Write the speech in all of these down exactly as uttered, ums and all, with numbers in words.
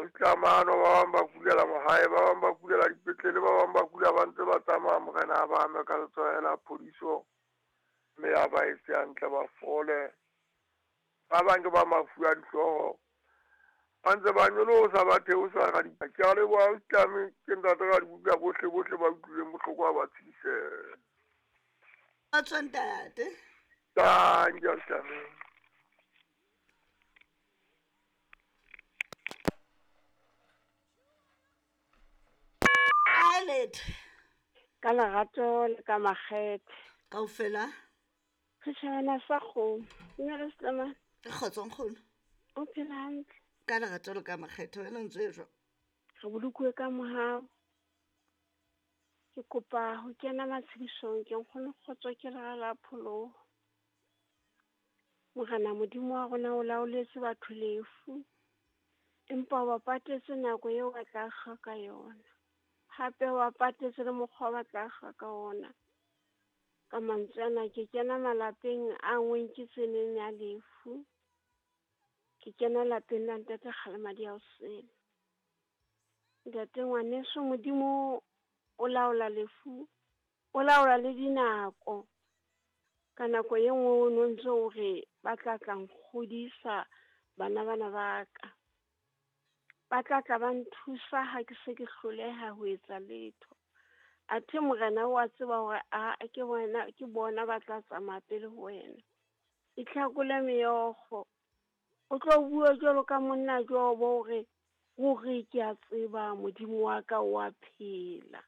Ausi Tlamano, ba bang ba kulela mahae, ba bang ba kulela dipetlele, ba bang ba kula ba ntse ba tsamaya. Morena a ba ame ka letsoho la phodiso, mme a ba etse hantle ba fole. Ba bang ke ba mafu a dihlooho, ba ntse ba nyolosa ba theosa ka di. Ke a leboha Ausi Tlame, ke ntate Radibuka bohle bohle ba utlwileng bohloko ha ba tshedisehe. Kgotso ntate. Tanki Ausi Tlame. Alet. Ka lerato le ka makgethe. Kaofela. Setjhabana sa kgomo. Dumela Setlama. Kgotso nkgono. O phela hantle? Ka lerato le ka makgethe, wena o ntse jwang? Re bolokuwe ka mohau. Ke kopa ho kena matshedisong ke nkgono Kgotso ke lera la pholoho. Morena Modimo wa rona o laoletse batho lefu, empa o ba patetse nako eo ba tla kga ka yona. Hape o ba patetse le mokgwa ba tla kga ka ona. Ka mantswe ana ke kena malapeng a ngweng ke tseneng ya lefu. Ke kena lapeng la ntate Kgalemadi ya Osele. Ntate ngwaneso, Modimo o laola lefu, o laola le dinako. Ka nako e nngwe o no ntso o re ba tla tla nkgodisa bana bana ba ka. Ba tla tla ba nthusa ha ke se ke hloleha ho etsa letho. Athe Morena o a tseba hore a ke bona ke bona ba tla tsamaya pele ho wena. Itlhakole meokgo. O tlo bua jwalo ka monna Jobo hore ruri ke a tseba Modimo wa ka o a phela.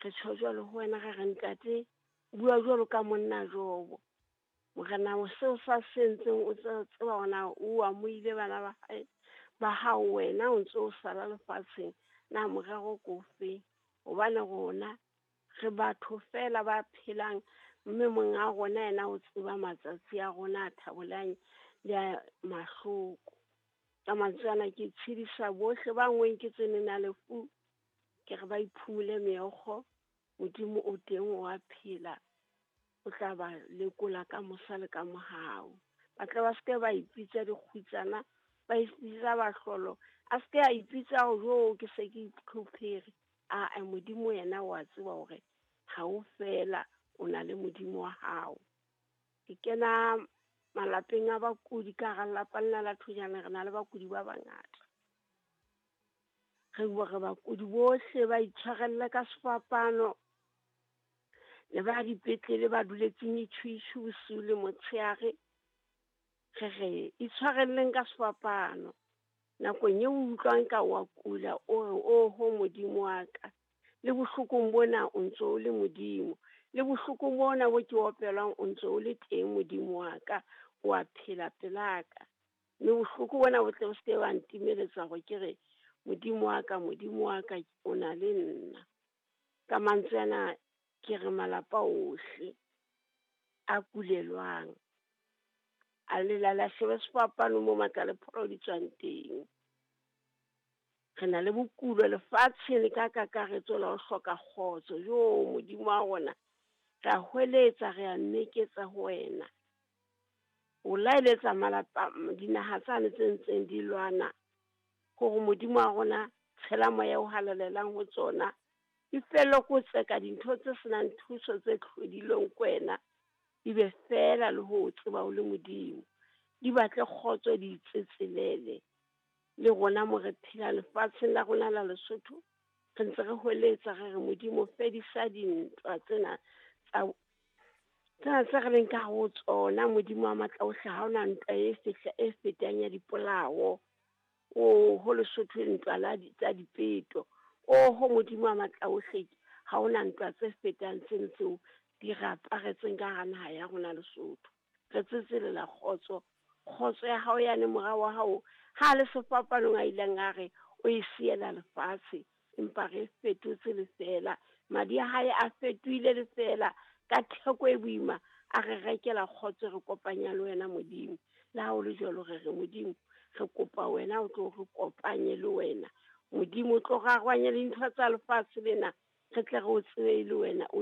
Re tjho jwalo ho wena re re ntate, bua jwalo ka monna Jobo. Morena seo sa se entseng o tseba hore o amohile bana ba hae ba hao, wena o ntso o sala lefatsheng. Na morero ke ofeng? Hobane rona re batho feela ba phelang, mme monga rona yena o tseba matsatsi a rona a thabolang le a mahloko. Ka mantswe ana ke tshedisa bohle ba ngweng ke tseneng ya lefu, ke re ba iphumule meokgo. Modimo o teng, o a phela, o tla ba lekola ka mosa le ka mohau. Ba tle ba se ke ba ipitsa dikgutsana, ba ipitsa bahlolo. A se ke a ipitsa hore jo ke se ke itlhophere. Aa, Modimo yena o a tseba hore ha o fela o na le Modimo wa hao. Ke kena malapeng a bakudi ka hara lelapa lena la Thojane, re na le bakudi ba bangata. Re bua re bakudi bohle ba itshwarelle ka sefapano, le ba dipetlele ba duletseng itjhuitjhu bosiu le motshehare. Re re itshwarelleng ka sefapano. Nakong eo o utlwang ka wa kula, o re oho Modimo wa ka, le bohlokong bona o ntso o le Modimo, le bohlokong bona bo ke opelwang o ntso o le teng Modimo wa ka, o a phela pelaka. Mme bohloko bona bo tle bo se ke ba ntimeletsa hore ke re Modimo wa ka, Modimo wa ka o na le nna. Ka mantswe ana ke re malapa ohle a kulelwang, a lelala shebe sefapano mo matla le pholo di tswang teng. Re na le bokulo lefatsheng le ka kakaretso la ho hloka kgotso. Jo Modimo wa rona, re a hweletsa, re a meketsa ho wena. O laeletsa malapa dinaha tsane tse ntseng di lwana hore Modimo wa rona tshela moya o halalelang ho tsona. Di fellwe ke ho tseka dintho tse senang thuso tse tlhodilweng ke wena, di be feela le ho tseba o le Modimo. Di batle kgotso, di itsetselele. Le rona mo re phela lefatsheng la rona la Lesotho, re ntse re hweletsa re re Modimo fedisa dintwa tsena tsa tsena tse re leng ka ho tsona. Modimo wa matla ohle, ha hona ntwa e fihla e fetang ya dipolao. Oho Lesotho ntwa la tsa dipeto. Oho Modimo wa matla ohle, ha hona ntwa tse fetang tseno tseo di re aparetseng ka hara naha ya rona Lesotho. Re tsetselela kgotso, kgotso ya hao yane mora wa hao ha le sefapanong a ileng a re o e siela lefatshe, empa re fetotse lefeela. Madi a hae a fetohile lefeela ka theko e boima, a re rekela kgotso, re kopanya le wena Modimo. Le ha ho le jwalo re re Modimo, re kopa wena o tlo re kopanye le wena. Modimo o tlo rarwanye le dintho tsa lefatshe lena, re tle re o tsebe le wena o